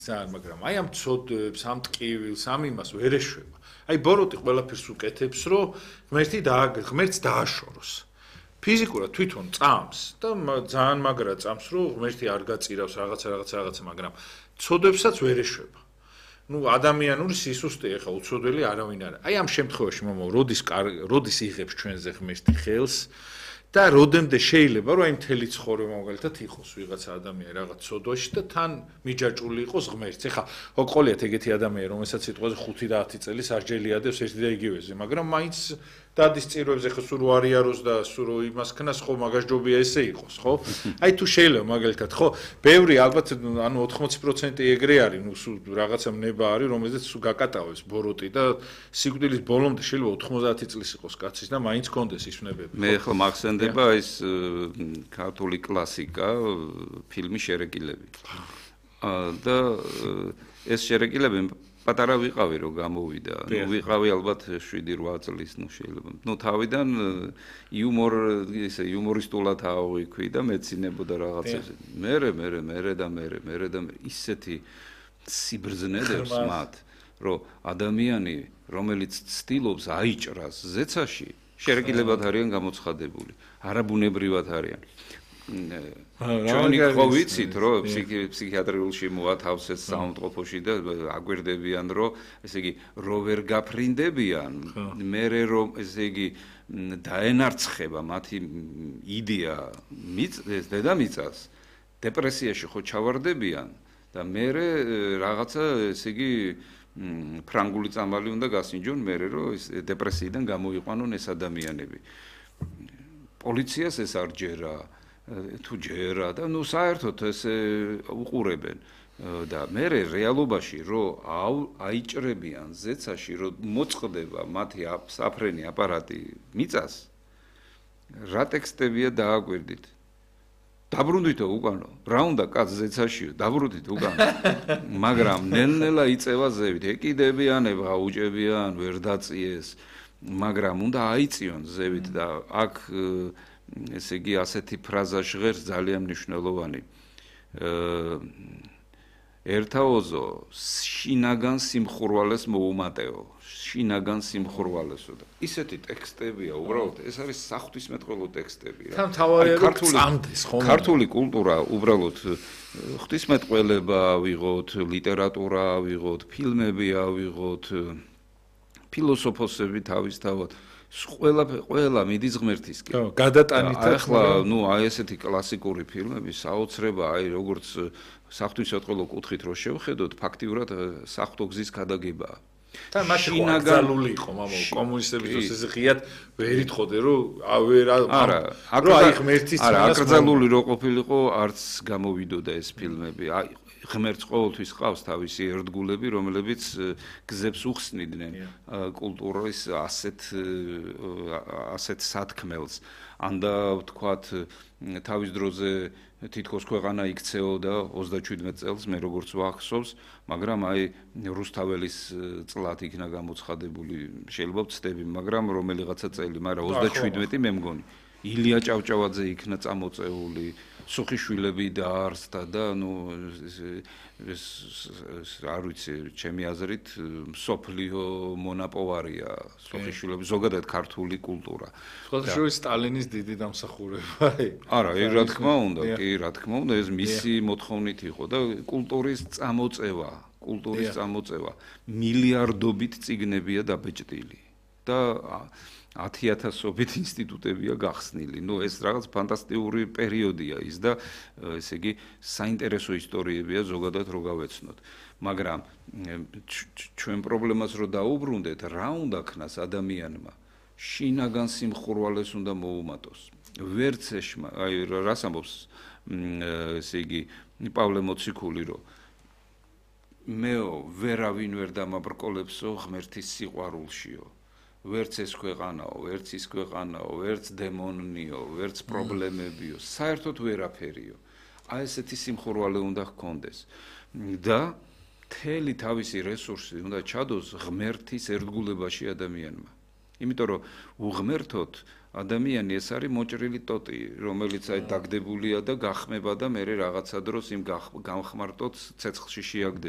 ძალიან, მაგრამ აი ამ ცოდვებს, ამ ტკივილს, ამ იმას ვერ ეშვება. აი ბოროტი ყველაფერს უკეთებს, რომ ღმერთს დააშოროს. ფიზიკურად თვითონ წამს და ძალიან მაგრა წამს, რომ ღმერთი არ გაწირავს რაღაცა, მაგრამ ცოდვებსაც ვერ ეშვება. ადამიანური სისუსტე ახლა უცოდველი არავინ არა. აი ამ შემთხვევაში მომავალ როდის იღებს ჩვენზე ღმერთი ხელს და როდემდე შეიძლება რომ აი მთელი ცხოვრება მაგალითად იყოს ვიღაცა ადამიანი რაღაც ცოდვაში და თან მიჯაჭული იყოს ღმერთს. ეხლა ყოლიათ ეგეთი ადამიანი, რომელსაც სიტყვაზე 5-10 წელი სარჯელიადებს ერთი და იგივეზე, მაგრამ მაინც დადის წირვებს ეხლა სულ არიაროს და სულ იმას ქნას ხო მაგასჯობია ესე იყოს, ხო? აი თუ შეიძლება მაგალითად, ხო, ბევრი ალბათ ანუ 80% ეგრე არის, სულ რაღაცა მნება არის, რომელზეც სულ გაკატავებს ბოროტი და სიკვდილის ბოლომდე შეიძლება 90 წლის იყოს კაცის და მაინც კონდეს ის ვნებები. მე ახლა მახსენდება ის ქართული კლასიკა, ფილმი შერეკილები. და ეს შერეკილები პატარა ვიყავი რომ გამოვიდა. ვიყავი ალბათ 7-8 წლის, შეიძლება. თავიდან იუმორისტულად ავიქვი და მეცინებოდა რაღაცებზე. მერე და ისეთი სიბრძნედებს მათ, რომ ადამიანი, რომელიც ცდილობს აიჭრას ზეცაში, შერეკილებად არიან გამოცხადებული, არაბუნებრივად არიან. ჩვენი ხო ვიცით, რომ ფსიქიატრიულში მოათავსეს საავადმყოფოში და აგვირდებიან, რომ ესე იგი რო ვერ გაფრინდებიან, მერე რომ ესე იგი დაენარცხება მათი იდეა დედამიწას, დეპრესიაში ხო ჩავარდებიან და მერე რაღაცა ესე იგი ფრანგული წამალი უნდა გასინჯონ, მერე რომ ეს დეპრესიიდან გამოიყვანონ ეს ადამიანები. პოლიციას ეს არ ჯერა თუ ჯერა და საერთოდ ესე უყურებენ და მე რეალობაში რომ აიჭრებიან ზეცაში რომ მოწყდება მათი საფრენი აპარატი მიწას რა ტექსტებია დააკვირდით დაბრუნდითო უკანო რა უნდა კაც ზეცაში დაბრუნდით უკანო მაგრამ ნელ-ნელა იწევა ზევით ეკიდებიან აუჭებიან ვერ დაწიეს მაგრამ უნდა აიწიონ ზევით და აქ ესე იგი ასეთი ფრაზა ჟღერს ძალიან მნიშვნელოვანი. ერთაოზო შინაგან სიმხურვალეს მოუმატეო. შინაგან სიმხურვალესო და ისეთი ტექსტებია, უბრალოდ ეს არის საღვთისმეტყველო ტექსტები რა. ქართული კულტურა უბრალოდ ღვთისმეტყველება ვიღოთ, ლიტერატურა ვიღოთ, ფილმები ავიღოთ, ფილოსოფოსები თავისთავად ყველა მიდის ღმერთისკენ. ხო, გადატანით ახლა, აი ესეთი კლასიკური ფილმები საოცრება, აი როგორც საღვთისმეტყველო კუთხით რო შევხედოთ, ფაქტიურად საღვთო გზის გადაგებაა. და მაშინ აკრძალული იყო, მამაო, კომუნისტების დროს ეს ღიად ვერ იტყოდე, რომ არა, აი ღმერთის არა, აკრძალული რო ყოფილიყო, არც გამოვიდოდა ეს ფილმები. აი ღმერთს ყოველთვის ყავს თავისი ერთგულები, რომლებიც გზებს უხსნიდნენ კულტურის ასეთ სათქმელს. ანდა ვთქვათ, თავის დროზე თითქოს ქვეყანა იქცეოდა 37 წელს, მე როგორც ვახსოვს, მაგრამ აი რუსთაველის წლად იქნა გამოცხადებული, შეიძლება ვცდები, მაგრამ რომელიღაცა წელი, მაგრამ 37 მე მგონი. ილია ჭავჭავაძე იქნა წამოწეული, სუხიშვილები დაარსდა და არ ვიცი, ჩემი აზრით, მსოფლიო მონაპოვარია სუხიშვილები, ზოგადად ქართული კულტურა. სუხიშვილის სტალინის დიდი დამსახურება. არა, რა თქმა უნდა, ეს მისი მოთხოვნით იყო და კულტურის წამოწევა მილიარდობით წიგნებია დაბეჭდილი და 10,000-ობით ინსტიტუტებია გახსნილი. ეს რაღაც ფანტასტიკური პერიოდია ის და ესე იგი საინტერესო ისტორიებია ზოგადად რო გავეცნოთ. მაგრამ ჩვენ პრობლემას რო დაუბრუნდეთ, რა უნდა ქნას ადამიანმა? შინაგან სიმხურვალეს უნდა მოუმატოს. ვერც აი რას ამბობს ესე იგი პავლე მოციქული რომ მეო ვერავინ ვერ დამაბრკოლებსო ღმერთის სიყვარულშიო. ვერც ეს ქვეყანაო, ვერც ის ქვეყანაო, ვერც დემონიო, ვერც პრობლემებიო, საერთოდ ვერაფერიო. აი ესეთი სიმხურვალე უნდა ჰქონდეს. და მთელი თავისი რესურსი უნდა ჩადოს ღმერთის ერთგულებაში ადამიანმა. იმიტომ რომ უღმერთოთ ადამიანი ეს არის მოჭრილი ტოტი, რომელიც აი დაგდებულია და გახმება და მე რაღაცა დროს იმ გამხმარტოთ ცეცხლში შეაგდება.